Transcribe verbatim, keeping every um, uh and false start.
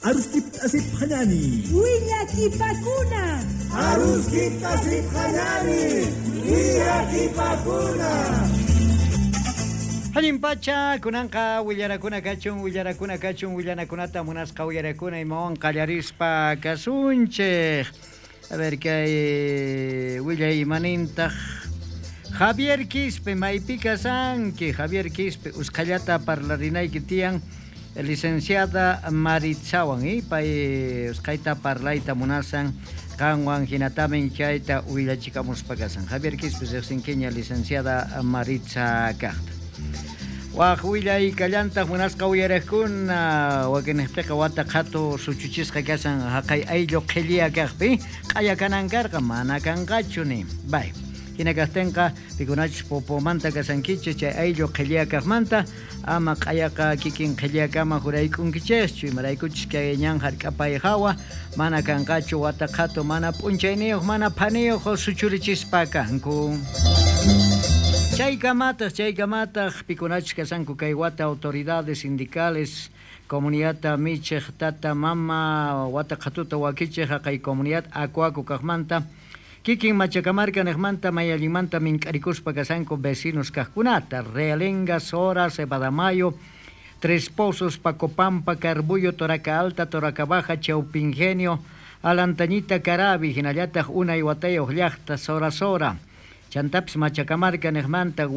Aruskip asip hañani. Willakipakuna. Aruskip asip hañani. Willakipakuna. Allin pacha, kunanqa willarakuna kachun, willarakuna kachun, willanakunata munasqa willarakuna imawan qallarispa kasunchik. A ver, kay willay imanintaq. Javier Quispe, maypi kasanki, Javier Quispe, usqhallata parlarinayki tiyan licenciada Maritzawan, y pay usqhayta parlayta munasan qanwan hinatamin chayta willachikamuspa kasan. Javier Quispe riqsinkiña licenciada Maritza kaqta. Waj willay kallantaq munasqa uyariqkuna wakinniqpiqa wata qhatu suchuchisqa kasan haqay ayllu qhilliya kaqpi q'aya kanan karqa mana kanqachu ni. Bay. Hina kaqtinqa pikunachus popomanta kasankichis chay ayllu qhilliya kaqmanta ama q'ayaqa kikin qhilliyakama jurayk'unkichikchu imaraykuchus kay ñan hark'apay hawa mana kanqachu wata qhatu mana p'unchayniyuq mana phaniyuq suchurichispa kanku. Chaykamataq, chaykamataq pikunachus kasanku kay wata autoridades sindicales, comunidad michiq tata mama wata qhatuta wakichiq haqay comunidad Akuaku kaqmanta kikin Machacamarca niqmanta mayallinmanta mink'arikuspa kasanku vecinos kaqkunata Realenga, Sora, Cebadamayo, Tres Pozos, Pacopampa, Carbullo, Toraca Alta, Toraca Baja, Chaupingenio, Alantañita, Carabi, hinallataq unay watayuq llaqta Sora Sora. Chantapis Machacamarca niqmanta